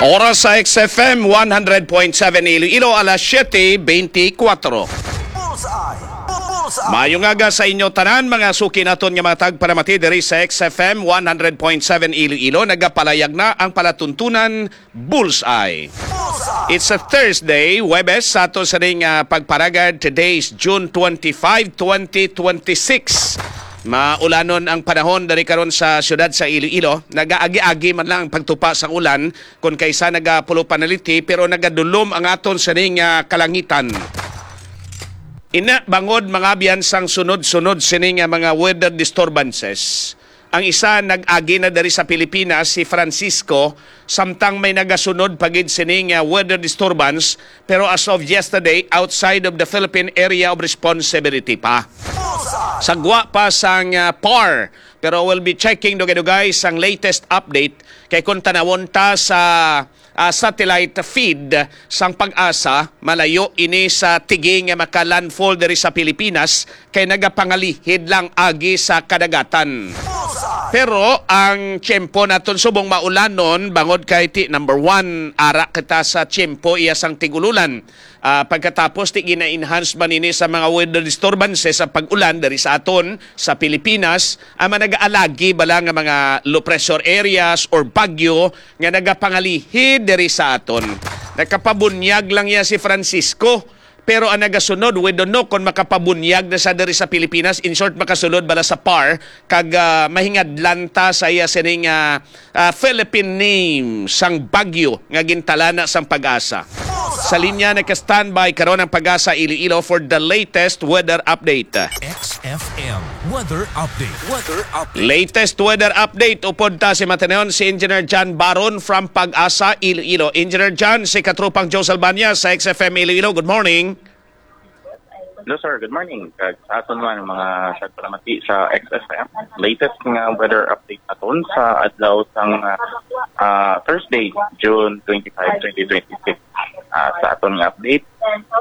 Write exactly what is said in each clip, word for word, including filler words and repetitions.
Oras sa X F M one hundred point seven Iloilo, alas siete beintikwatro. Bullseye! Bullseye! Maayong aga sa inyo tanan, mga suki naton nga mga tagpalamati diri sa X F M one hundred point seven Iloilo. Nagapalayag na ang palatuntunan Bullseye. Bullseye! It's a Thursday, Huwebes, sa ato sa ning, ah, pagparagad. Today is June twenty-five, twenty twenty-six. Maulanon ang panahon diri karon sa siyudad sa Iloilo. Nagaagi-agi man lang ang pagtupa sang ulan, kon kaysa nagapulo panaliti, pero nagadulom ang aton sining, ah, kalangitan. Ina, bangod mga abyan sang sunod-sunod sini nga mga weather disturbances, ang isa nag-agi na diri sa Pilipinas, si Francisco, samtang may nagasunod pa gid sini nga weather disturbance, pero as of yesterday, outside of the Philippine Area of Responsibility pa. Sa gwa pa sang, ah, par, pero we'll be checking dugay-dugay sang latest update, kay kung tanawon ta sa, ah, satellite feed sang PAGASA, malayo ini sa tigi nga maka-landfall diri sa Pilipinas, kay nagapangalihid lang agi sa kadagatan. Pero ang tiyempo naton subong maulanon, bangod kay ti, number one, ara kita sa tiyempo iya sang tig-ululan. Ah, pagkatapos, ti gina-enhance man ini sa mga weather disturbances sa pag-ulan diri sa aton sa Pilipinas, ang mga nagaalagi bala nga mga low pressure areas or bagyo nga nagapangalihid diri sa aton. Nakapabunyag lang iya si Francisco, pero ang nagasunod, we don't know kung makapabunyag na siya diri sa Pilipinas. In short, makasulod bala sa par kag, ah, mahingadlan ta sa iya sining, ah, ah, Philippine name sang bagyo nga gintalana sang PAGASA. Sa linya nagka-standby karon ang PAGASA Iloilo for the latest weather update. X F M weather update. Weather update. Latest weather update upod ta si matanon si Engineer John Baron from PAGASA Iloilo. Engineer John, si katropang Joe Salbaña sa X F M Iloilo. Good morning. Hello, sir. Good morning. Kag sa aton man, mga tagpalamati sa X F M, latest nga weather update naton sa adlaw sang, ah, ah, Thursday, June twenty-five, twenty twenty-six. Ah, sa aton nga update,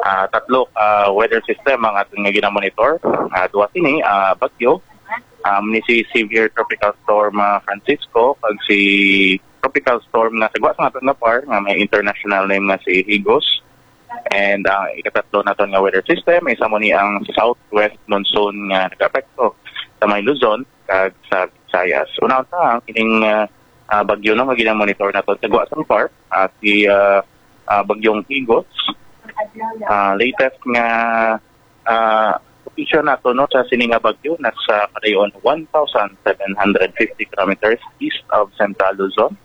ah, tatlo ka weather system ang aton nga ginamonitor. Ah, duha sini, ah, bagyo. Um, ni si Severe Tropical Storm, ah, Francisco, kag si Tropical Storm nga sa gwa sa aton nga par, nga may international name nga si Higos. And ang ikatatlo naton nga weather system, isa mo ni ang southwest monsoon nga nag-apekto sa may Luzon kag sa Visayas. Una unta ang kining, ah, ah, bagyo, no, nga ginamonitor naton sa gwa sang par, ah, si, ah, ah, Bagyong Higos. Ah, latest nga, ah, location nato, no, sa sini nga bagyo, nasa kadayon one thousand seven hundred fifty kilometers east of Central Luzon.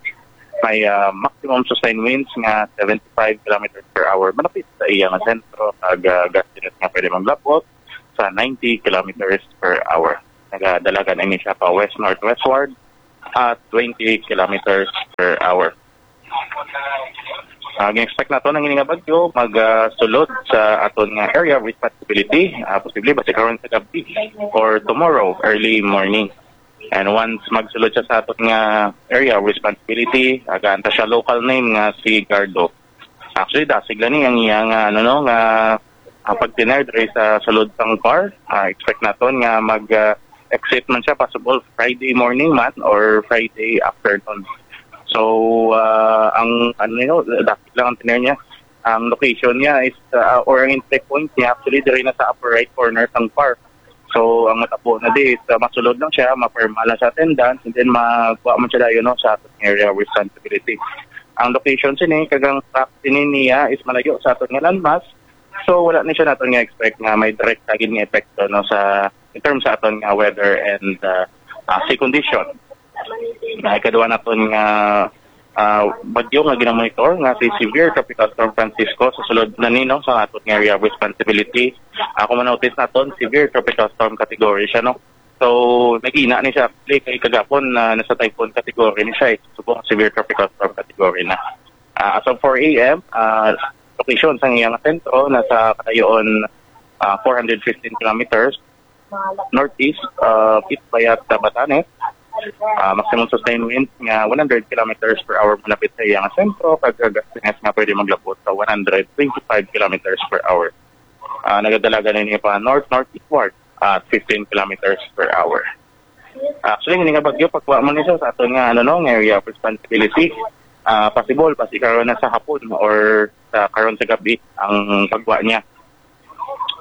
May, ah, maximum sustained winds nga seventy-five kilometers per hour, malapit sa iya nga sentro, kag, ah, gustiness nga pwede maglabot sa ninety kilometers per hour. Nagadalagan ini siya pa west-northwestward at twenty kilometers per hour. Ah, gin-expect nato ang ini nga bagyo mag, ah, sulod sa aton nga area of responsibility, ah, posible basi karon sa gabi or tomorrow early morning. And once magsulod siya sa aton nga area of responsibility, agaan ta siya local name nga si Gardo. Actually, dasig lang ni ang iya nga, ano, no, nga, ah, pagtener diri sa sulod sang par. Ah, expect naton nga mag, ah, exit man siya possible Friday morning man or Friday afternoon. So, ah, ang, ano, no, dasig lang ang tener niya. Ang location niya is, ah, or ang entry point niya actually diri na sa upper right corner sang par. So, ang matabo na di is, ah, masulod lang siya, mapirma lang sa attendance, and then magkuha man siya dayon, no, sa aton area of responsibility. Ang location sini, kag ang track sini niya is malayo sa aton nga landmass. So, wala ni siya naton nga expect nga may direct gid nga epekto, no, sa, in terms sa aton nga weather and, ah, ah, sea condition. Na ikaduha naton nga, ah, bagyo nga ginamonitor nga si Severe Tropical Storm Francisco sa sulod na ni, no, sa aton nga area of responsibility. Ako man notice naton, severe tropical storm category siya, no. So, nagina ni siya actually kay kagapon na nasa typhoon category ni siya, eh. Subong severe tropical storm category na. Ah, as of four a m, ah, location sa iyang sentro nasa kadayon, ah, four hundred fifteen kilometers northeast, ah, Pitbayat, Batanes. Ah, maximum sustained winds nga one hundred kilometers per hour malapit sa iyang sentro, kag gustiness nga pwede maglabot sa one hundred twenty-five kilometers per hour. Ah, nagadalagan ini pa north-northeastward at fifteen kilometers per hour. Actually, hindi nga bagyo, pagkuha mo nito sa aton nga, ano, no, nga area of responsibility. ah, possible, basi karon na sa hapon or sa karon sa gabi ang pagwa niya.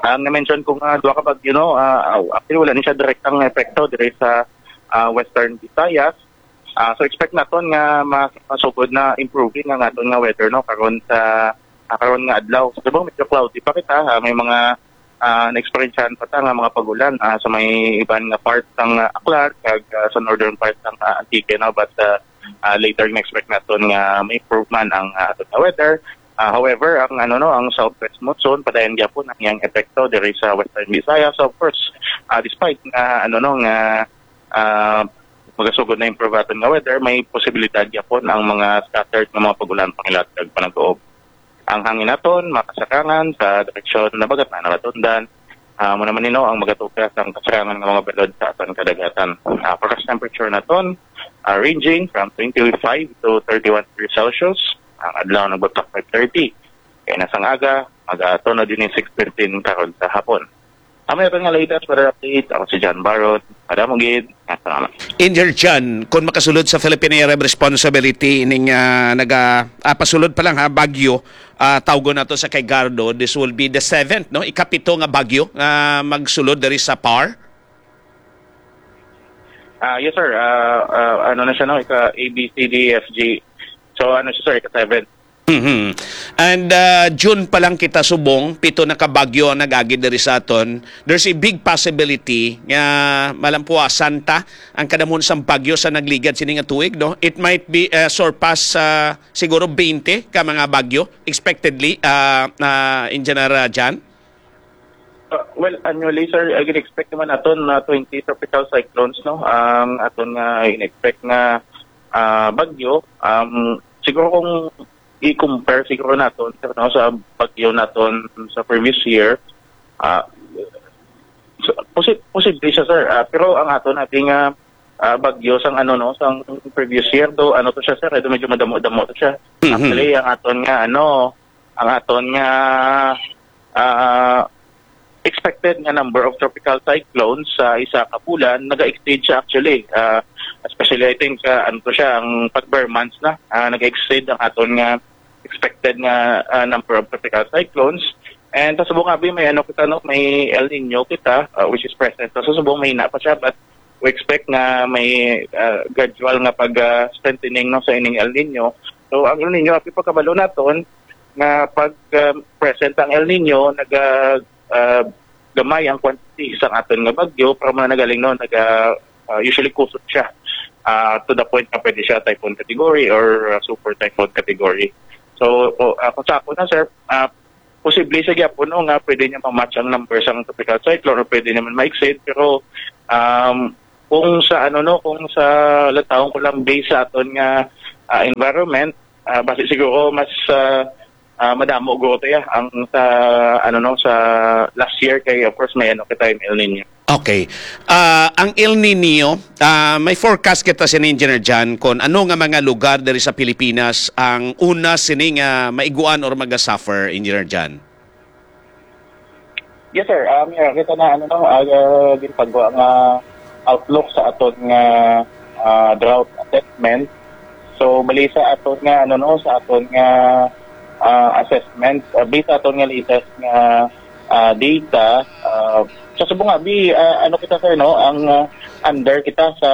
Ang na-mention ko nga duha ka bagyo, no, ah, aw, actually, wala ni siya direktang epekto diri sa, ah, Western Visayas. Ah, so, expect naton nga mas masugod na improving ang aton nga weather, no, karon sa, ah, karon nga adlaw. Sa subong, medyo cloudy pa kita, ah, may mga, ah, na-experiencehan pa ta nga mga pag-ulan, ah, sa may iban nga part sang, ah, Aklan kag, ah, sa northern part sang, ah, Antique, no, but, ah, ah, later, na-expect naton nga may improvement ang, ah, aton nga weather. Ah, however, ang, ano, no, ang southwest monsoon padayon gyapon ang iyang epekto diri sa Western Visayas. So, of course, ah, despite nga, ano, no, nga, ah, magasugod na improve aton nga weather, may posibilidad gyapon ang mga scattered nga mga pag-ulan pangilat kag panag-uob. Ang hangin naton makasarangan sa direksyon Nabagatan, Nabatundan. Ah, amo naman, you know, ang magatukas ang kasarangan nga mga balod sa aton kadagatan. Ah, forecast temperature naton, ah, ranging from twenty-five to thirty-one degrees Celsius. Ang adlaw nagbagtak five thirty. Kaya na sang aga, mag-atunod din six fifteen karon sa hapon. Amo na nga latest weather update. Ako si John Baron. Madamo gid. Salamat. Engineer John, kung makasulod sa Philippine Area of Responsibility, ining, ah, naga, ah, pasulod pa lang, ha, bagyo, ah, tawgon nato sa kay Gardo, this will be the seventh, no? Ikapito nga bagyo nga magsulod diri sa par. Ah, yes, sir. Ah, ah, ano na siya, no? Ika A B C D F G. So, ano siya, sir? Ika seven. Mhm. And, ah, June pa lang kita subong, pito na ka bagyo ang nag-agi diri sa aton. There's a big possibility nga malampuasan ta ang kadamon sang bagyo sa nagligad sini nga tuig, no? It might be, ah, surpass, ah, siguro twenty ka mga bagyo expectedly, ah, ah, Engineer, ah, Jan. Uh, well, annually, sir, I expect naman aton na twenty tropical cyclones, no? Ang aton nga in-expect nga, ah, bagyo, um, siguro kung i-compare siguro naton, sir, no, sa bagyo naton sa previous year, ah, so, posi-, posible siya, sir. Ah, pero ang aton natin nga, ah, bagyo sang, ano, no, sang previous year, do, ano to siya, sir, do medyo madamo-damo to siya. Mhm. Actually, ang aton nga, ano, ang aton nga, ah, expected nga number of tropical cyclones sa isa ka bulan, naga-exceed siya actually. Ah, especially, I think, ah, ano to siya, ang pag-ber months na, ah, naga-exceed ang aton nga expected nga, ah, number of tropical cyclones. And sa subong abi, may ano kita, no, may El Nino kita, ah, which is present. So, sa subong, mahina pa siya, but we expect nga may, ah, gradual nga pag, ah, strengthening, no, sa ining El Nino. So, ang El Nino, abi, pagkabalo naton nga pag, ah, present ang El Nino, naga, ah, gamay ang quantity sa aton nga bagyo, pero mga nagaling, no, naga, ah, usually kusog siya, ah, to the point nga pwede siya typhoon category or, ah, super typhoon category. So, o, ah, kung sa ako na, sir, ah, posible sa gyapon, no, nga pwede niya ma-match ang number sang tropical cyclone or pwede naman ma-exceed, pero, um, kung sa, ano, no, kung sa, lantawon ko lang, based sa aton nga, ah, environment, ah, basi siguro mas, ah, ah, madamo guro to, ya, ang sa, ano, no, sa last year kay, of course, may, ano, kita, may El Nino. Okay. Ah, ang El Nino, ah, may forecast kita sini, Engineer Jan, kung ano nga mga lugar diri sa Pilipinas ang una sini nga maiguan or maga-suffer, Engineer Jan? Yes, sir. Um, yeah, kita na, ano, no, ah, ginpagwa nga outlook sa aton nga, ah, drought assessment. So, bali sa aton nga, ano, no, sa aton nga, ah, assessment, ah, based sa aton nga latest nga, ah, data, ah, sa subong abi, ah, ano kita, sir, no, ang, ah, under kita sa,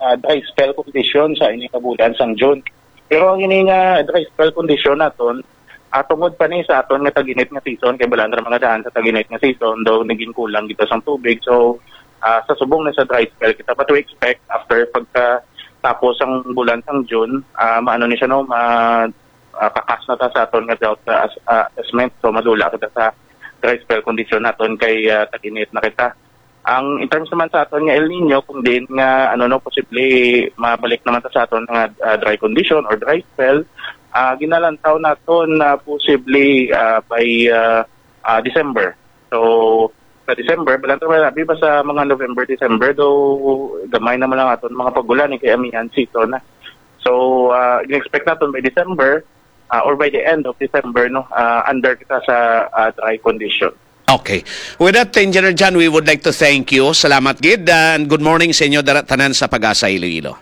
ah, dry spell condition sa ini nga bulan sang June. Pero ang ini nga dry spell condition naton, ah, tungod pa ni sa aton nga tag-init nga season, kay balaan ra mga daan sa tag-init nga season, daw naging kulang kita sang tubig. So, ah, sa subong na sa dry spell kita, but we expect after pagka tapos ang bulan sang June, ah, maano ni siya, no, ma-, ah, kakas na ta sa aton nga drought, ah, as-, ah, assessment. So, madula kita sa dry spell condition naton kay, ah, tag-init na kita. Ang, in terms naman sa aton nga El Nino, kung diin nga, ano, no, posible mabalik naman ta sa aton nga, ah, dry condition or dry spell, ah, ginalantaw naton na posible, ah, by, ah, ah, December. So, sa December, balantaw na, abi ba sa mga November, December, though gamay naman lang aton mga pag-ulan, eh, kay amihan season na. So, ah, in-expect naton by December, ah, or by the end of December, no, ah, under kita sa, ah, dry condition. Okay. With that, Engineer John, we would like to thank you. Salamat gid, and good morning sa inyo dara tanan sa Pag-asa Iloilo.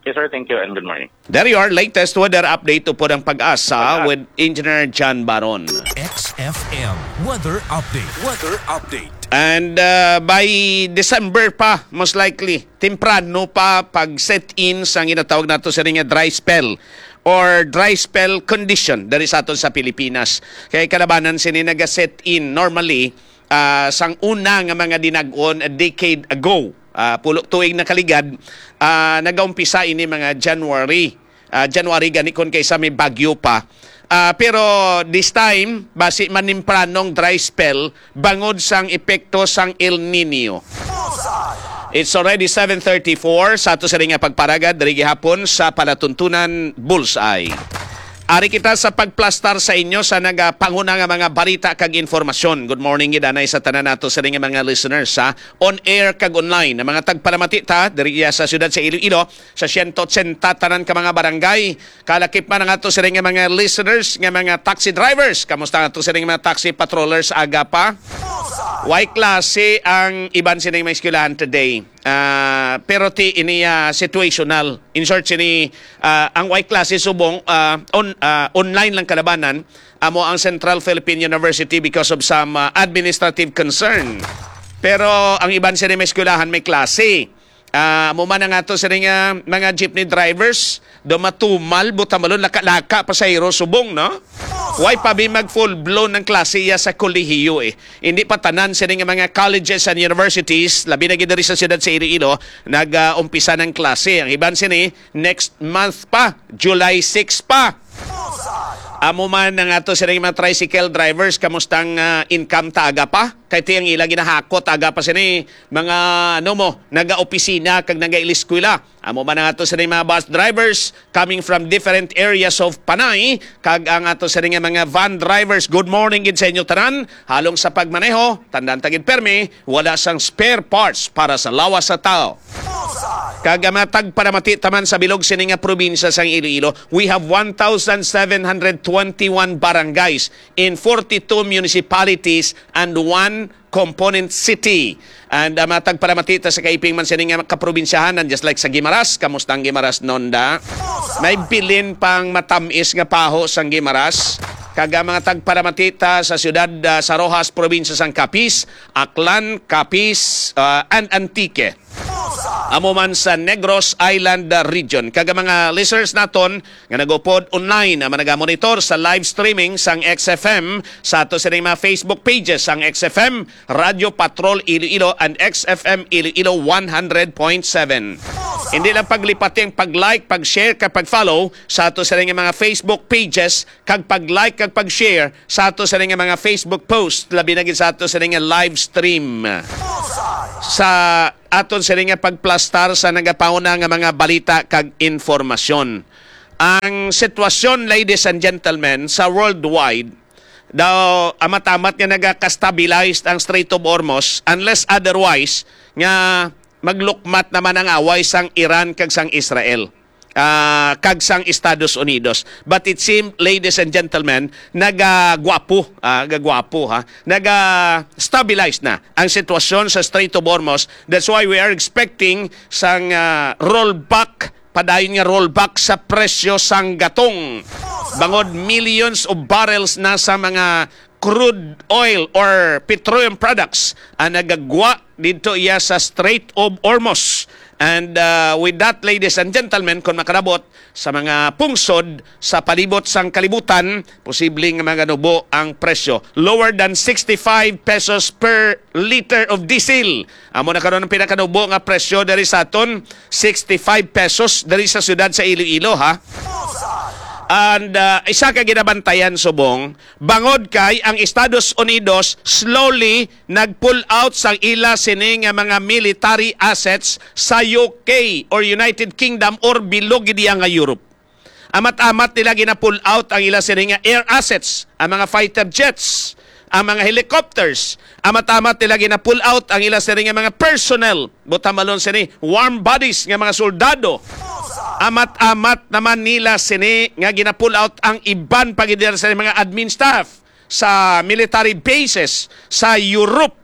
Yes, sir. Thank you and good morning. There you are, latest weather update upod ang PAGASA with Engineer John Baron. X F M weather update. Weather update. And uh, by December pa, most likely, temprano pa pag set in sa ginatawag nato sa nga dry spell or dry spell condition diri sa aton sa Pilipinas. Kay kalabanan sini naga-set in normally ah, sang una nga mga dinag-on a decade ago. Ah, pulo tuig na kaligad, ah, nagaumpisa ini mga January. Ah, January gani kon kaysa may bagyo pa. Ah, pero this time, basi manimpranong dry spell bangod sang epekto sang El Nino. It's already seven thirty-four sa ato sa nga pagparagad diri gihapon sa palatuntunan Bullseye. Ari kita sa pagplastar sa inyo sa nagapanguna nga mga balita kag informasyon. Good morning gid anay sa tanan nato sa nga mga listeners sa on air kag online. Ang mga tagpalamati ta diri sa siyudad sa Iloilo sa siyento otsenta tanan ka mga barangay. Kalakip man ang ato sa nga mga listeners nga mga taxi drivers. Kamusta ang ato sa nga mga taxi patrollers aga pa? Way klase ang iban sining mga eskwelahan today. Ah, pero ti ini ah, situational. In short, sini ah, ang way klase subong ah, on, ah, online lang kalabanan amo ang Central Philippine University because of some ah, administrative concern. Pero ang iban sini may eskwelahan may klase. Ah, amo man ang ato sini nga mga jeepney drivers do matumal butamalon laka-laka pasahero subong, no? Way pa bi mag full blown ang klase iya sa kolehiyo eh. Hindi pa tanan sini nga mga colleges and universities, labi na gid diri sa siyudad sa Iloilo, nag-umpisa ng klase. Ang iban sini next month pa, July six pa. Amo man ang ato sini mga tricycle drivers, kamustang ah, income ta aga pa? Kay ti ang ila ginahakot aga pa sini mga ano mo, naga-opisina kag naga-iliskwela. Amo man ang ato sini mga bus drivers coming from different areas of Panay, kag ang ato sini nga mga van drivers. Good morning gid sa inyo tanan. Halong sa pagmaneho, tandaan ta gid permi, wala sang spare parts para sa lawas sa tao. Kag ang mga tagpanamati taman sa bilog sini nga probinsya sang Iloilo, we have one thousand seven hundred twenty-one barangays in forty-two municipalities and one component city. And ang mga tagpanamati ta sa kaiping man sini nga kaprobinsyahan, and just like sa Guimaras, kamusta ang Guimaras, Nonda? May bilin pang matamis nga paho sang Guimaras. Kag ang mga tagpanamati ta sa siyudad ah, sa Roxas, probinsya sang Capiz, Aklan, Capiz, ah, and Antique. Amo man sa Negros Island ah, region. Kag ang mga listeners naton nga nagupod online, ang mga nagamonitor sa live streaming sang X F M sa ato sining mga Facebook pages, sang X F M, Radyo Patrol Iloilo, and X F M Iloilo one hundred point seven. Hindi lang paglipati ang pag-like, pag-share, kag pag-follow sa ato sining mga Facebook pages, kag pag-like, kag pag-share sa ato sining mga Facebook post, labi na gid sa ato sining live stream. Sa aton sini nga pagplastar sa nagapauna nga mga balita kag informasyon. Ang sitwasyon, ladies and gentlemen, sa worldwide, daw amat-amat nga nagaka-stabilized ang Strait of Hormuz, unless otherwise nga maglukmat naman ang away sang Iran kag sang Israel ah, kag sang Estados Unidos. But it seems, ladies and gentlemen, nagagwapo, ah, gagwapo ha, naga-stabilize na ang sitwasyon sa Strait of Hormuz. That's why we are expecting sang ah, rollback, padayon nga rollback sa presyo sang gatong. Bangod millions of barrels na sa mga crude oil or petroleum products ang nagagwa dito iya sa Strait of Hormuz. And uh, with that, ladies and gentlemen, kung makalabot sa mga pungsod sa palibot sang kalibutan, posible nga maganubo ang presyo. Lower than sixty-five pesos per liter of diesel. Amo na karon ang pinakanubo nga presyo diri sa aton, sixty-five pesos diri sa siyudad sa Iloilo, ha? And uh, isa ka ginabantayan subong, bangod kay ang Estados Unidos slowly nag-pull out sang ila sini nga mga military assets sa U K or United Kingdom or bilog gid iya nga Europe. Amat-amat nila gina-pull out ang ila sini nga air assets, ang mga fighter jets, ang mga helicopters. Amat-amat nila gina-pull out ang ila sini nga mga personnel, butamalon sini warm bodies nga mga soldado. Amat-amat naman nila sini nga gina-pull out ang iban pa gid nila sini mga admin staff sa military bases sa Europe.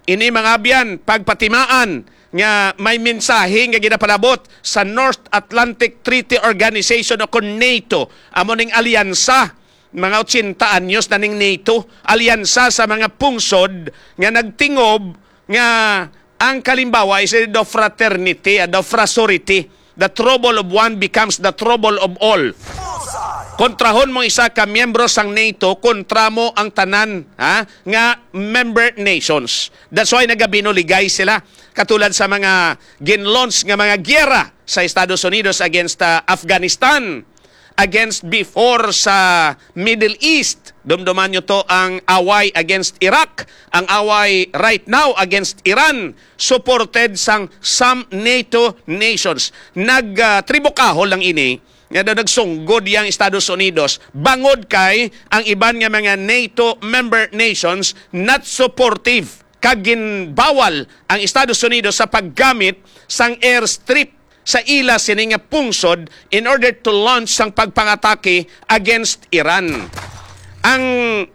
Ini, mga abyan, pagpatimaan nga may mensahe nga ginapalabot sa North Atlantic Treaty Organization o kon NATO. Amo ning alyansa, mga ochenta anyos na ning NATO, alyansa sa mga pungsod nga nagtingob nga ang kalimbawa is the fraternity, ah, the frasority. The trouble of one becomes the trouble of all. Kontrahon mo isa ka miyembro sang NATO, kontra mo ang tanan, ha, nga member nations. That's why nagabinuligay sila. Katulad sa mga gin-launch nga mga giyera sa Estados Unidos against, ah, Afghanistan, against before sa Middle East. Dumduman nyo to, ang away against Iraq, ang away right now against Iran, supported sang some NATO nations. Nag, ah, tribukahol lang ini, nga daw nagsunggod yang Estados Unidos, bangod kay ang iban nga mga NATO member nations not supportive, kag ginbawal ang Estados Unidos sa paggamit sang airstrip sa ila sini nga pungsod in order to launch sang pagpangatake against Iran. Ang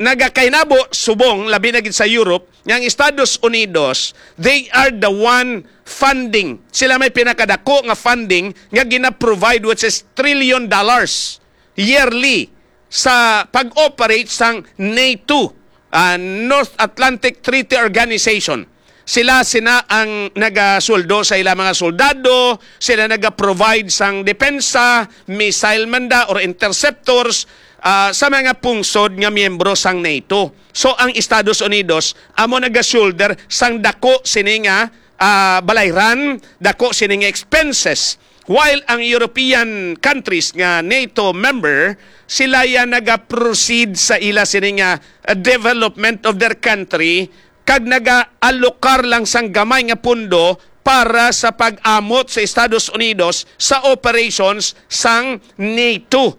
nagakahinabo subong, labi na gid sa Europe, nga ang Estados Unidos, they are the one funding. Sila may pinakadako nga funding nga gina-provide, which is trillion dollars yearly sa pag-operate sang NATO, ah, North Atlantic Treaty Organization. Sila sina ang nagasweldo sa ila mga soldado, sila naga-provide sang depensa, missile man da or interceptors, ah, sa mga pungsod nga miyembro sang NATO. So, ang Estados Unidos amo naga-shoulder sang dako sini nga, ah, balayran, dako sini nga expenses. While ang European countries nga NATO member, sila ya naga-proceed sa ila sini nga, ah, development of their country, kag naga-alokar lang sang gamay nga pundo para sa pag-amot sa Estados Unidos sa operations sang NATO,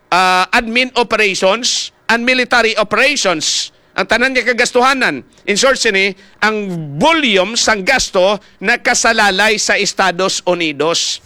ah, admin operations and military operations. Ang tanan nga kagastuhanan. In short, sini, ang volume sang gasto nakasalalay sa Estados Unidos.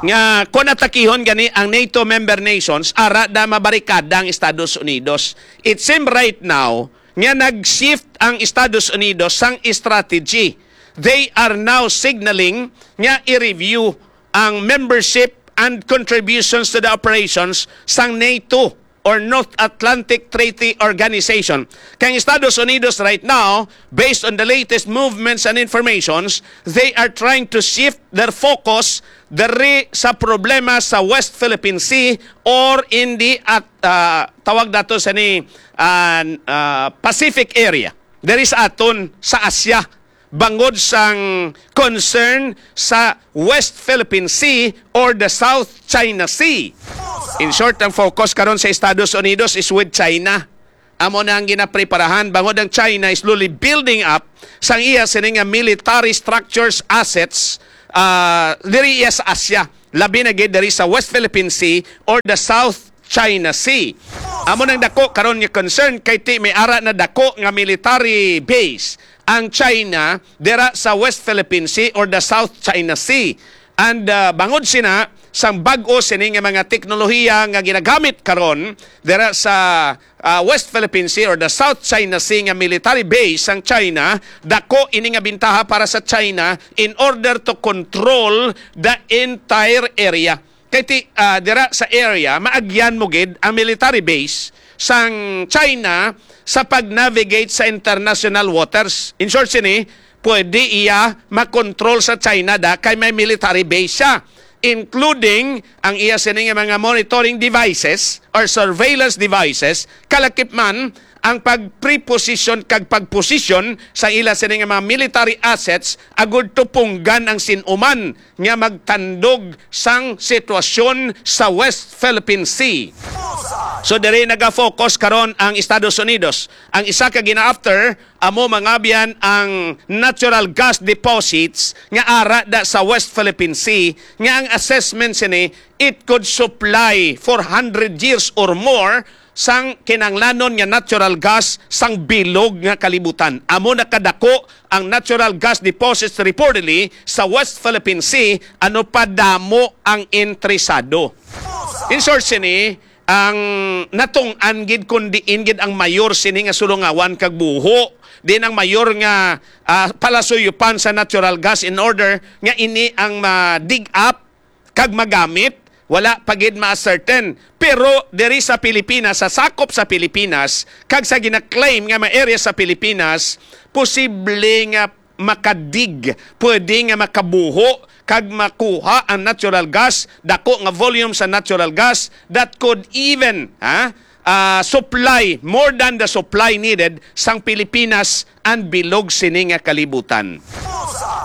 Nga kung atakihon gani ang NATO member nations, ara da mabarikada ang Estados Unidos. It seems right now nga nag-shift ang Estados Unidos sang strategy. They are now signaling nga i-review ang membership and contributions to the operations sang NATO or North Atlantic Treaty Organization. Kay ang Estados Unidos right now, based on the latest movements and informations, they are trying to shift their focus diri sa problema sa West Philippine Sea or in the at, ah, tawag nato sa ni, ah, ah, Pacific area. Diri sa aton sa Asia, bangod sang concern sa West Philippine Sea or the South China Sea. In short, ang focus karon sa Estados Unidos is with China. Amo na ang ginapreparahan, bangod ang China is slowly building up sang iya sini nga military structures, assets, ah, diri iya sa Asia, labi na gid diri sa West Philippine Sea or the South China Sea. Amo nang dako karon nga concern kay ti may ara na dako nga military base ang China dira sa West Philippine Sea or the South China Sea. And, ah, bangod sina sang bag-o sini nga mga teknolohiya nga ginagamit karon dira sa, ah, West Philippine Sea or the South China Sea nga military base sang China, dako ini nga bintaha para sa China in order to control the entire area. Kay ti, ah, dira sa area, maagyan mo gid ang military base sang China sa pag-navigate sa international waters. In short, sini, pwede iya makontrol sa China da kay may military base siya, including ang iya sini nga mga monitoring devices or surveillance devices, kalakip man ang pag-preposition kag pag-position sa ila sini nga mga military assets agud tupunggan ang sin-uman nga magtandog sang sitwasyon sa West Philippine Sea. So, diri naga-focus karon ang Estados Unidos. Ang isa ka gina-after amo mangabyan ang natural gas deposits nga ara da sa West Philippine Sea, nga ang assessment sini, it could supply for hundred years or more sang kinahanglanon nga natural gas sang bilog nga kalibutan. Amo na kadako ang natural gas deposits reportedly sa West Philippine Sea, ano pa damo ang interesado. In short sini, ang natong-an gid kun diin gid ang mayor sini nga sulungawan kag buho, din ang mayor nga, ah, palasuyupan sa natural gas in order nga ini ang ma-dig up kag magamit, wala pa gid ma-ascertain. Pero diri sa Pilipinas, sa sakop sa Pilipinas, kag sa gina-claim nga mga area sa Pilipinas, posible nga makadig, pwede nga makabuho kag makuha ang natural gas, dako nga volume sa natural gas that could even, ha, ah, supply more than the supply needed sang Pilipinas and bilog sini nga kalibutan.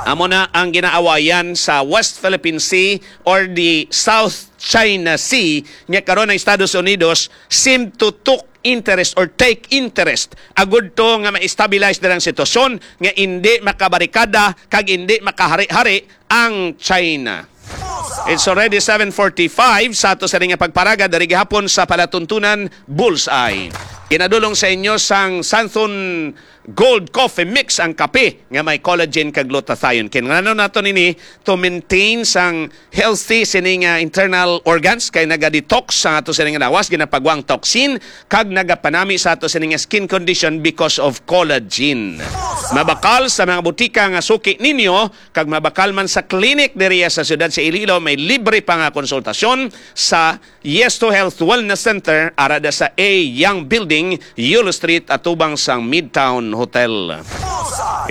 Amo na ang ginaawayan sa West Philippine Sea or the South China Sea, nga karon ang Estados Unidos seem to took interest or take interest agud to nga ma-stabilize na ang sitwasyon, nga indi makabarikada kag indi makahari-hari ang China. It's already seven forty-five sa ato sa nga pagparaga diri gihapon sa palatuntunan Bullseye. Ginadulong sa inyo sang Santhon Gold Coffee Mix, ang kape nga may collagen kag glutathione. Kinahanglan nato nini to maintain sang healthy sini nga internal organs, kay naga-detox sa ato sini nga lawas, ginapagwang toxin, kag nagapanami sa ato sini nga skin condition because of collagen. Mabakal sa mga butika nga suki ninyo, kag mabakal man sa clinic diriya sa siyudad sa Iloilo, may libre pa nga konsultasyon sa Yes to Health Wellness Center, ara da sa A Young Building, Yulo Street, atubang sang Midtown Hotel.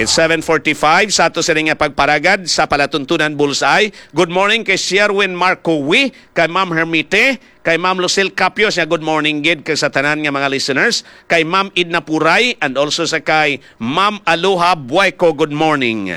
It's seven forty-five sa ato sini nga pagparagad sa palatuntunan Bullseye. Good morning kay Sherwin Marco Wi, kay Ma'am Hermite, kay Ma'am Lucille Capio, siya good morning gid kay sa tanan nga mga listeners, kay Ma'am Edna Puray, and also sa kay Ma'am Aloha Buayco, good morning.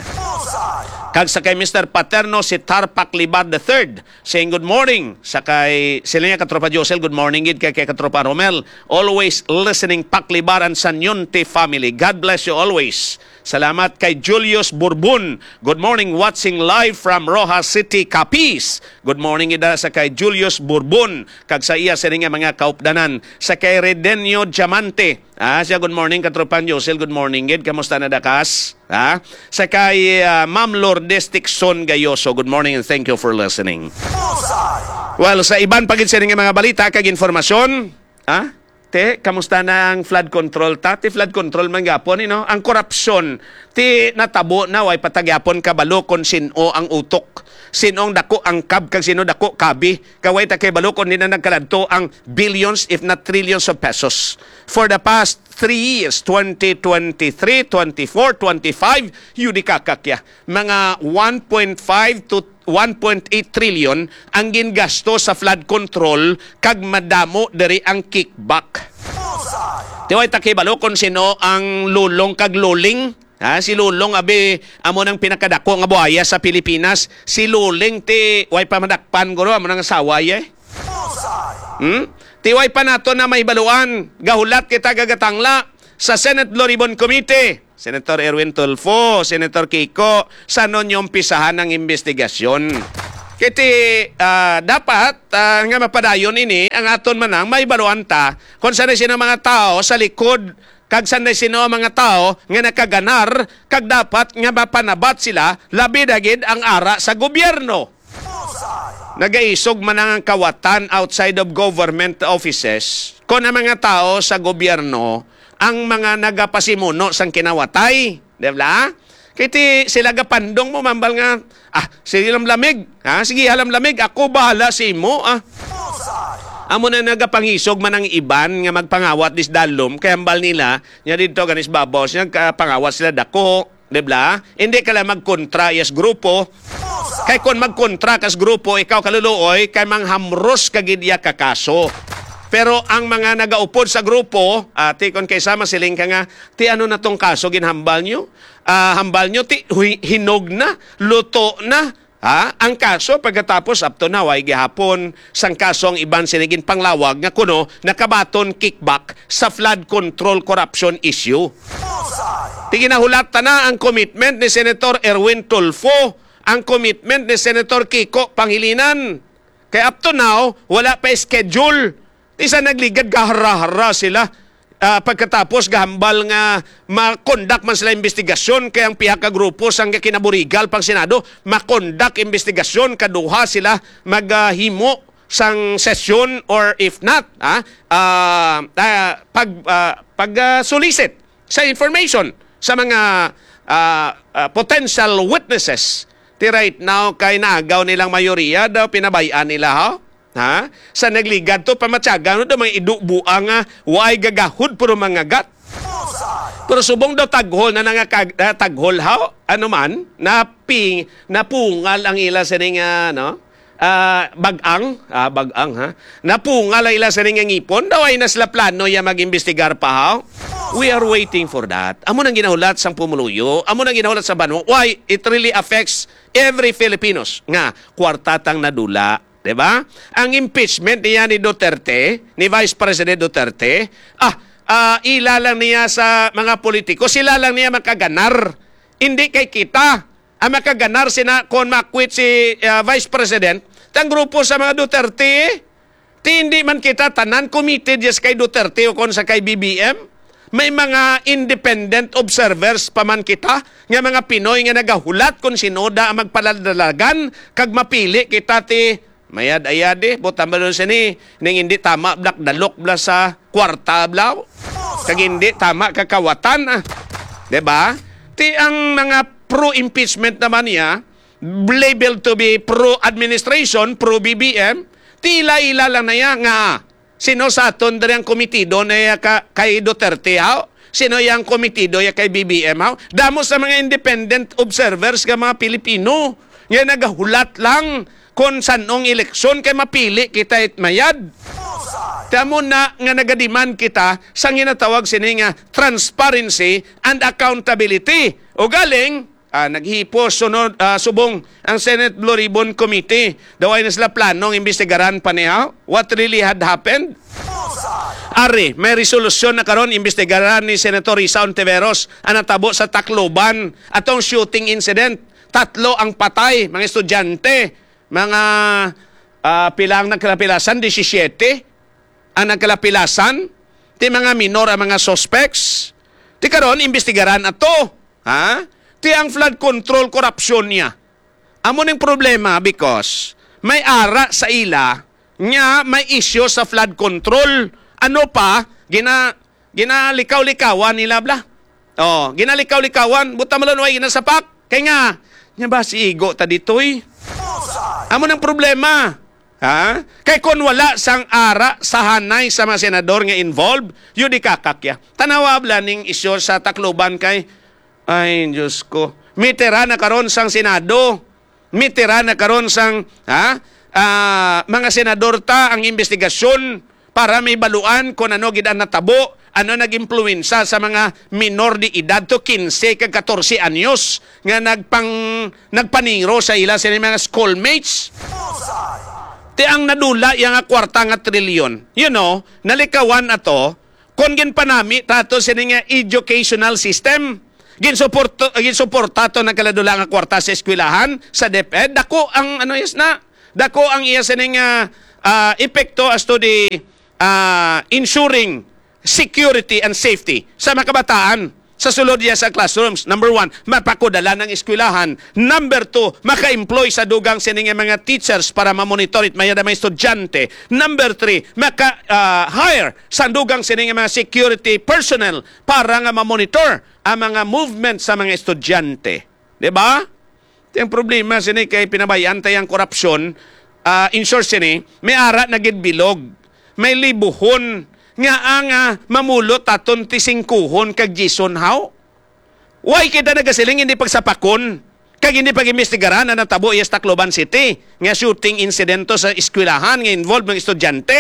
Kag sa kay Mister Paterno, si Tarpak Libar the third, saying good morning. Sa kay sila niya katropa Josel, good morning gid kay, kay katropa Romel. Always listening, Pak Libar and Sanyonte family. God bless you always. Salamat kay Julius Burbon. Good morning, watching live from Roxas City, Capiz. Good morning ida sa kay Julius Burbon kag sa iya sini nga mga kaupdanan. Sa kay Redenio Diamante. Ah, siya, good morning, katropa Josel. Good morning gid. Kamusta na dakas? Ha? Sa kay, ah, Ma'am Lourdes Tixon Gayoso, good morning and thank you for listening. Well, sa iban pa gid sini nga mga balita kag informasyon, ha? Te, kamusta na ang flood control? Ta, ti flood control man gapon, you know? Ang korupsyon, ti natabo na, way pa ta gyapon kabalo kon sin-o ang utok, sin-o ang dako ang kab, kag sino dako kabi. Kay way ta kay balo kon di na nagkaladto ang billions, if not trillions of pesos. For the past three years, twenty twenty-three, twenty-four, twenty-five, yun di kakakya. Mga one point five to one point eight trillion ang gingasto sa flood control, kag madamo diri ang kickback. Ti way ta kay balo kon sino ang lulong kag luling. Ha, si Lulong, abi, amo nang pinakadako nga buhaya sa Pilipinas. Si Luling, ti way pa madakpan, guro, amo nang asawa, eh. Hmm? Ti way pa nato na mahibaluan, gahulat kita, gagatangla sa Senate Blue Ribbon Committee. Senator Erwin Tulfo, Senator Kiko, sa ninyo umpisahan ang investigasyon? Kay ti, ah, dapat, ah, nga mapadayon ini ang aton manang mahibaluan ta kung sanay sino mga tao sa likod kag sanay sino ang mga tawo nga nakaganar, kag dapat nga mapanabat sila, labi na gid ang ara sa gobyerno. Nagaisog man ang kawatan outside of government offices kon ang mga tawo sa gobyerno ang mga nagapasimuno sang kinawatay, di ba? Kay ti sila gapandong mo, mambal nga, "Ah, sige lang lamig, ha? Sige lang lamig, ako bahala sa imo, ah." Amo na nagapangisog man ang iban nga magpangawat dis dalom, kay hambal nila, nya didto ganis babaw, siya nagpangawat sila dako, di ba? Hindi ka lang magkontra, yes, grupo. Kay kung magkontra kas grupo, ikaw kaluluoy, kay manghamros ka gid iya ka kaso. Pero ang mga nagaupod sa grupo, ati, kon kay sama siling ka nga, "Ti ano na tong kaso ginhambal nyo? Ah, hambal nyo, ti, hui-, hinog na, luto na." Ha? Ang kaso, pagkatapos, up to now, ay gihapon sang kaso ang iban sini ginpanglawag nga kuno nakabaton kickback sa flood control corruption issue. Ti ginahulat ta na ang commitment ni Senator Erwin Tulfo, ang commitment ni Senator Kiko Pangilinan. Kay up to now, wala pa schedule. Isa nagligad, gahara-hara sila. Ah, pagkatapos, gahambal nga makondak man sila investigasyon, kay ang pihak ka grupo sang kinaburigal pang Senado, makondak investigasyon, kaduha sila maghimo sang sesyon, or if not, ah, ah, ah, pag, ah, pag, ah, solicit sa information sa mga, ah, ah, potential witnesses. Ti right now kay naagaw nilang mayoriya daw pinabay-an nila, ha? Ha? Sa nagligad to, pamatyagan mo daw mga idubuang nga waay gagahod pero mangagat. Pero subong daw taghol na nangakag-, ah, taghol, ha? Ano man, napi-, napungal ang ila sining, ah, no? Ah, bag-ang, ah, bag-ang, ha? Napungal ang ila sining nga ngipon, daw ay na sila plano ya mag-imbestigar pa, ha? We are waiting for that. Amo nang ginahulat sang pumuluyo, amo nang ginahulat sa banwa. Why? It really affects every Filipinos nga kwarta tang nadula, di ba? Ang impeachment niya ni Duterte, ni Vice President Duterte, ah, ah, ila lang niya sa mga politiko, sila lang niya makaganar. Hindi kay kita ang makaganar sina kon ma-acquit si, ah, Vice President, tang grupo sa mga Duterte. Ti hindi man kita tanan committed yes kay Duterte o kon sa kay B B M. May mga independent observers pa man kita nga mga Pinoy nga nagahulat kon sinoda ang magpaladalagan kag mapili kita ti mayad-ayad eh. Buta ba nun sini? Ning hindi tama, black dalok bla sa kwarta bla. Kag hindi tama kakawatan, ah. Di ba? Ti ang mga pro-impeachment naman niya, labeled to be pro-administration, pro-B B M, ti ila-ila lang na iya nga sino sa aton diri ang komitido na iya ka, kay Duterte, haw? Sino yang komitido ya kay B B M, haw? Damo sa mga independent observers nga mga Pilipino nga nagahulat lang kon san-ong eleksyon kay mapili kita it mayad. Tamo na nga nagademand kita sa ginatawag sini nga transparency and accountability. O galing, ah, naghipos sunod, ah, subong ang Senate Blue Ribbon Committee. Daw ay na sila planong imbestigaran pa niya what really had happened. Ari, may resolusyon na karon, imbestigaran ni Senator Risa Ontiveros ang natabo sa Tacloban atong shooting incident. Tatlo ang patay, mga estudyante, mga, ah, pila ang nagkalapilasan, disisiete ang nagkalapilasan, ti mga minor ang mga suspects. Ti karon, imbestigaran ato, ha? Ti ang flood control, korupsyon niya. Amo ning problema because may ara sa ila nga may isyu sa flood control. Ano pa, gina-, ginalikaw-likawan nila bla. Oh, ginalikaw-likawan, buta malon way ginasapak. Kay nga, nya ba si igo ta ditoy? Amo nang problema. Ha? Kay kon wala sang ara sa hanay sa mga senador nga involved, yun di kakakya. Tanawa bla ning isyu sa Tacloban kay, ay, Diyos ko. Mitira na karon sang Senado. Mitira na karon sang, ha? Ah, mga senador ta ang investigasyon para may baluan kung ano gid ang natabo, ano nag-impluwensa sa mga minor de edad to quince kag catorce anyos nga nagpang-, nagpaniro sa ila sa mga schoolmates. Ti ang nadula iya nga kwarta nga trilyon. You know, nalikawan ato, kon ginpanami ta ato sini nga educational system, ginsuporto-, ginsuporta to nagkaladula nga kwarta sa eskwelahan, sa DepEd, dako ang, ano, yes na, dako ang iya sini nga, ah, epekto as to the, ah, ensuring security and safety sa mga kabataan sa sulod niya sa classrooms. Number one, mapakudala ng eskwelahan. Number two, maka-employ sa dugang sini nga mga teachers para ma-monitor it mayad ang mga estudyante. Number three, maka, ah, hire sa dugang sini nga mga security personnel para nga ma-monitor ang mga movement sa mga estudyante. Di ba? Ti ang problema sini kay pinabayaan ta ang korupsyon, ah, in short sini, may ara na gid bilog, may libuhon nga ang, ah, mamulot aton ti singkuhon kag jison haw. Why kita nagasiling hindi pagsapakon? Kag hindi pag-imbestigaran ang natabo iya sa Tacloban City nga shooting insidente sa eskwelahan nga involved mga estudyante,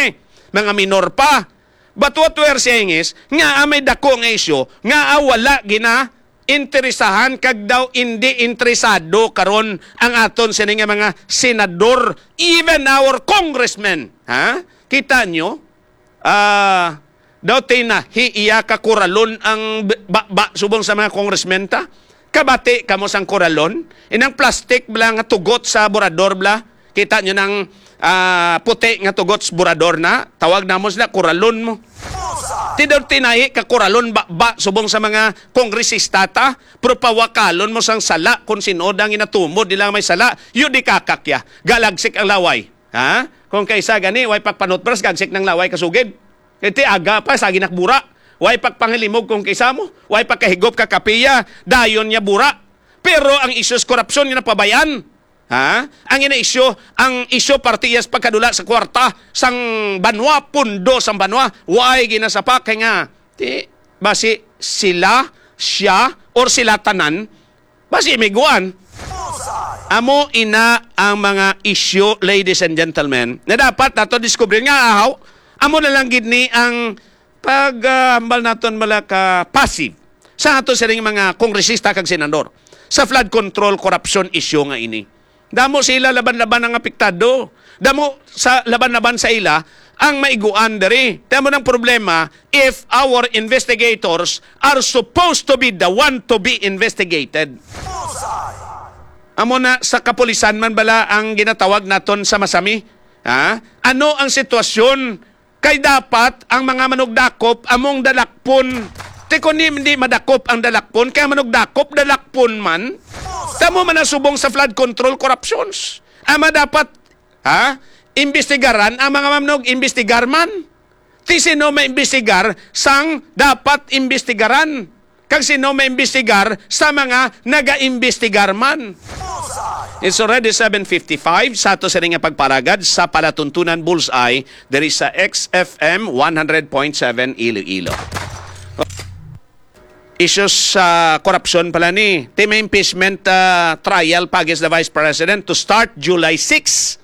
mga minor pa. But what we are saying is, nga, ah, may dako nga isyu, nga, ah, wala gina interesahan kag daw indi interesado karon ang aton sini nga mga senador, even our congressmen. Ha? Kita nyo? Ah, daw tinahi iya ka kuralon ang b-, baba subong sa mga congressmen ta. Kabati kamo sang kuralon? Inang plastic bla nga tugot sa burador bla. Kita nyo nang, ah, puti nga tugot sa burador na? Tawag namo sila, kuralon mo. Ti daw tinahi ka kuralon baba subong sa mga kongresista ta, pero pawakalon mo sang sala kung sino dang inatumod nila may sala, yun di kakakya. Galagsik ang laway. Ha? Kung kaisa gani, way pagpanutbras, gagsik ng laway kasugid. Iti aga pa, sa ginakbura. Way pagpangilimog kung kaisa mo. Way pagkahigop ka kapiya, dayon niya bura. Pero ang isyu sa korupsyon nga napabayan. Ha? Ang ina isyu, ang isyu parte iya sa pagkadula sa kwarta sang banwa, pundo sang banwa. Way ginasapak kay nga, ti, basi sila, siya, or sila tanan, basi miguan. Amo ina ang mga isyu, ladies and gentlemen, na dapat nato diskubrin nga ahaw. Amo na lang gid ni ang pag, ah, hambal naton mala ka passive sa ato sining mga kongresista kag senador sa flood control corruption issue nga ini. Damo sila laban-laban ang apektado. Damo sa laban-laban sa ila ang maiguan diri. Tamo nang problema, if our investigators are supposed to be the one to be investigated. Amo na, sa kapulisan man bala ang ginatawag naton sa masami? Ha? Ano ang sitwasyon? Kay dapat ang mga manugdakop among dalakpon. Ti kon di, di madakop ang dalakpon, kay ang manugdakop dalakpon man. Tamo man ang subong sa flood control corruptions. Ama dapat, ha? Imbestigaran ang mga manug-imbestigar man. Ti sino maimbestigar sang dapat imbestigaran? Kag sino maimbestigar sa mga nagaimbestigar man? It's already seven fifty-five. Sa ato sini nga pagparagad sa palatuntunan Bullseye diri sa X F M one hundred point seven Iloilo. Issues sa korupsyon pala ni. Ti may impeachment, ah, trial pa against the Vice President to start July six.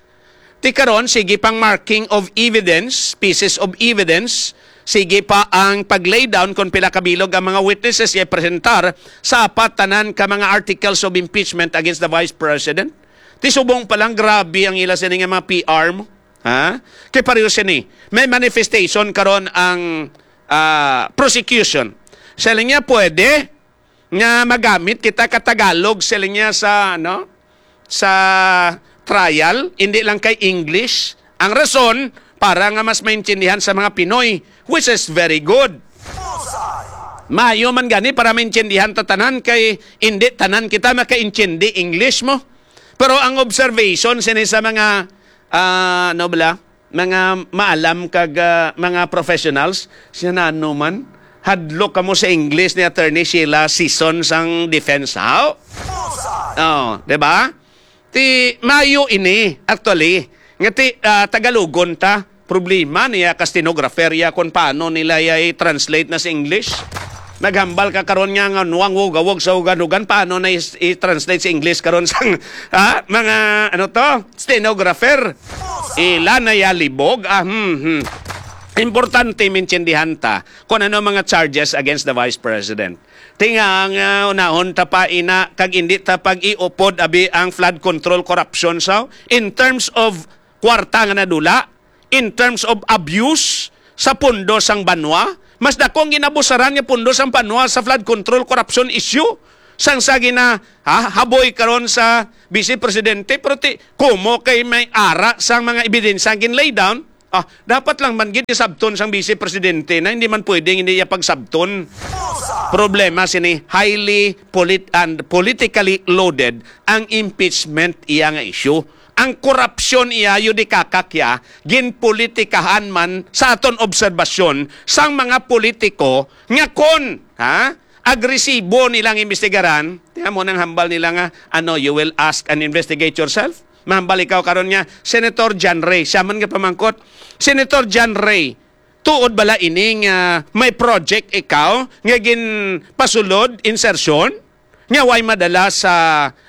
Ti karon, sige pang marking of evidence, pieces of evidence, sige pa ang pag-lay down kung pila ka bilog ang mga witnesses nga presentar sa apat tanan ka mga articles of impeachment against the Vice President. Ti subong pa lang, grabe ang ila sini nga mga P R mo. Ha? Kay pareho sini, may manifestation karon ang, ah, prosecution. Sa linya, pwede nga magamit kita ka Tagalog, siling niya, sa, ano, sa trial, hindi lang kay English. Ang rason, para nga mas maintindihan sa mga Pinoy, which is very good. Maayo man gani para maintindihan ta tanan, kay hindi tanan kita makaintindi English mo. Pero ang observation sini sa mga, ah, ano bala, mga maalam kag, ah, mga professionals, siya na ano man, hadlok kamo sa English ni Attorney Sheila Sison sang defense, haw? Oh, di ba? Ti mayo ini, actually, nga ti, ah, Tagalogon ta. Problema niya ka stenographer ya kung paano nila ya i-translate na sa English. Naghambal ka karon nga nga nuang wog awog sa ugan-ugan, paano na i-, i-translate sa English karon sang, ha? Mga, ano to? Stenographer. Ila na ya libog. Ah, hmm, hmm. Importante maintindihan ta kung ano mga charges against the Vice President. Tinga nga unahon ta pa ina kag hindi ta pag-iupod abi ang flood control corruption sa in terms of kwarta nga nadula, in terms of abuse sa pundo sang banwa, mas dako ang ginabusaran nga pundo sang banwa sa flood control corruption issue sang sa gina, ha, haboy karon sa Vice Presidente, pero ti, kumo kay may ara sang mga ebidensya ang gin-lay down. Ah, dapat lang man gid isabton sang Vice Presidente na hindi man pwedeng hindi iya pagsabton. Problema sini, highly polit-, and politically loaded ang impeachment iya nga issue. Ang korupsyon iya, yun di kakakya, ginpolitikahan man sa aton obserbasyon sang mga politiko nga kon, ha, agresibo nilang imbestigaran, tiyan mo nang hambal nila nga, ano, "You will ask and investigate yourself." Mahambal ikaw karon nga, Senator John Ray, siya man nga pamangkot, "Senator John Ray, tuod bala ini nga may project ikaw nga ginpasulod, insertion, nga way madala sa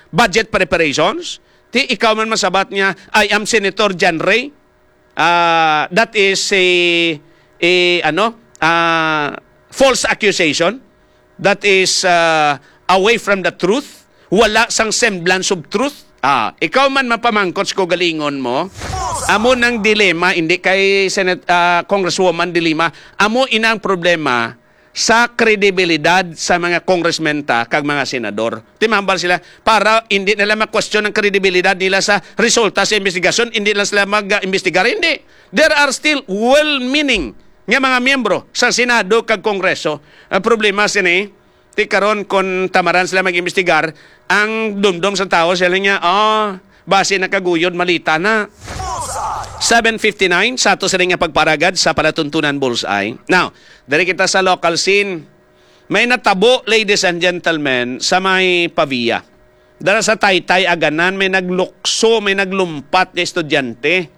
budget preparations?" Ti ikaw man masabat nga, "I am Senator John Ray." Ah, that is a, a, ano, ah, false accusation. That is, ah, away from the truth. Wala sang semblance of truth. Ah, ikaw man mapamangkot sa kaugalingon mo. Amo nang dilema, hindi kay Senate, ah, Congresswoman dilema. Amo ina ang problema sa kredibilidad sa mga congressmen ta kag mga senador. Timambal sila para hindi nila ma-question ang kredibilidad nila sa resulta sa investigasyon, hindi lang sila mag-imbestigar. Hindi. There are still well-meaning nga mga miyembro sa Senado kag Kongreso. Ang problema sini, ti karon kon tamaran sila mag-imbestigar, ang dumdom sa tawo sila niya, "Ah, basi nakaguyod, malita na." Seven fifty-nine sa ato sini nga pagparagad sa Palatuntunan Bullseye. Now, diri kita sa local scene. May natabo, ladies and gentlemen, sa may Pavia. Dara sa Taytay Aganan, may naglukso, may naglumpat nga estudyante.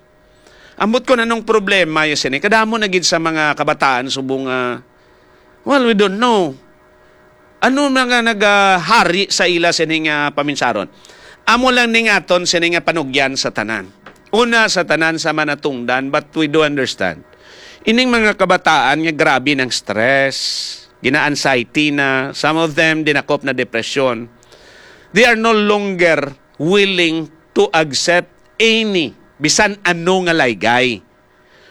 Ambot ko, anong problema ya sini? Kadamo na gid sa mga kabataan subong nga, well, we don't know. Ano na nga nagahari sa ila sini nga paminsaron? Amo lang ning aton sini nga panugyan sa tanan. Una, sa tanan sa manatungdan, but we do understand. Ining mga kabataan nga grabe ng stress, gina-anxiety na, some of them dinakop na depression. They are no longer willing to accept any, bisan ano nga laygay.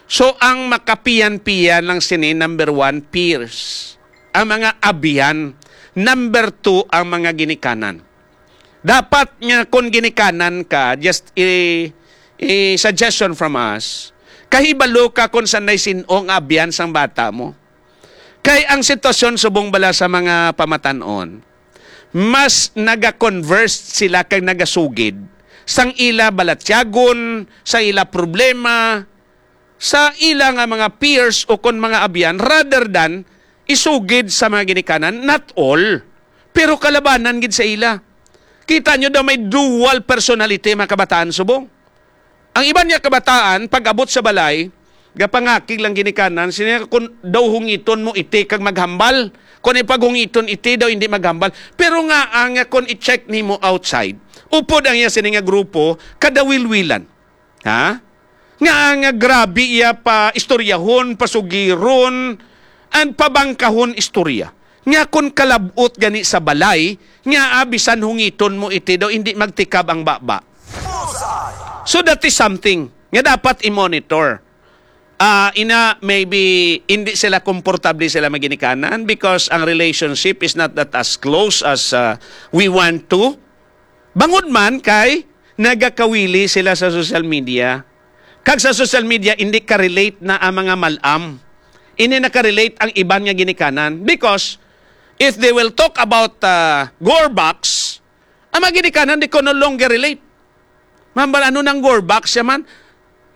So, ang makapiyan-piyan lang sini, number one, peers. Ang mga abyan. Number two, ang mga ginikanan. Dapat nga kung ginikanan ka, just i, i suggestion from us, kahibalo ka kung sanay sin-o nga abyan sang bata mo. Kay ang sitwasyon subong bala sa mga pamatanon, mas naga-converse sila kag nagasugid sang ila balatyagon, sa ila problema, sa ila nga mga peers o kon mga abyan, rather than isugid sa mga ginikanan, not all, pero kalabanan gid sa ila. Kita nyo daw may dual personality, mga kabataan subong. Ang iban niya kabataan, pag-abot sa balay, gapangakig lang ginikanan, sini nga, "Kung daw hungiton mo iti kag maghambal, kung ipaghungiton iti daw hindi maghambal." Pero nga, ang, kung i-check nimo outside, upod ang iya sini nga grupo, kadawilwilan. Ha? Nga, nga grabe iya pa istoryahon, pasugiron, and pabangkahon istorya. Nga kung kalabot gani sa balay, nga, ah, bisan hungiton mo iti daw, hindi magtikab ang baba. So that is something nga dapat i-monitor. Ah, ina, maybe hindi sila komportable sila maginikanan because ang relationship is not that as close as, ah, we want to. Bangod man kay nagakawili sila sa social media. Kag sa social media, hindi ka-relate na ang mga malam. Hindi na ka-relate ang iban nga ginikanan. Because if they will talk about, ah, Gorbax, ang mga ginikanan, di ko no longer relate. Mambal, ano nang Gorbax siya man?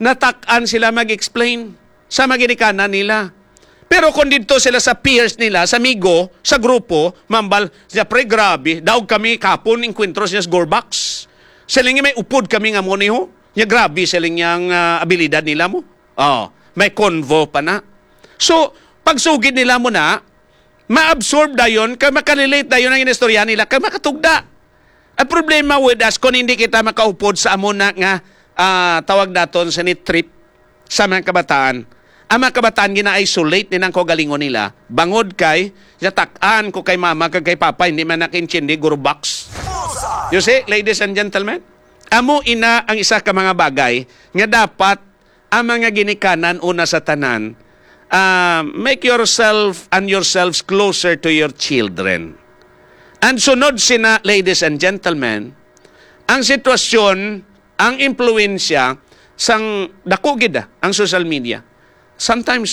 Natak-an sila mag-explain sa mga ginikanan nila. Pero kung dito sila sa peers nila, sa amigo, sa grupo, mambal, siya, "Pre, grabe. Daog kami kapon, inkwentro siya sa Gorbax. Siling niya may upod kami nga mo niho. Niya grabe, siling niya ang, ah, abilidad nila mo." Oh, may convo pa na. So, pagsugid nila mo na, ma-absorb dayon, kay makarelate dayon ang inistorya nila, kay makatugda. Ang problema with us, kung hindi kita makaupod sa amo na nga, ah, tawag naton sa ni trip sa mga kabataan, ang mga kabataan gina-isolate ni nang kaugalingon nila, bangod kay, "Yatak-an ko kay mama kag kay papa, hindi man nakaintindi, Gorbax." You see, ladies and gentlemen, amo ina ang isa ka mga bagay nga dapat ang mga ginikanan una sa tanan, ah, make yourself and yourselves closer to your children. And sunod sina, ladies and gentlemen, ang sitwasyon, ang impluwensya sang dako gid, ah, ang social media. Sometimes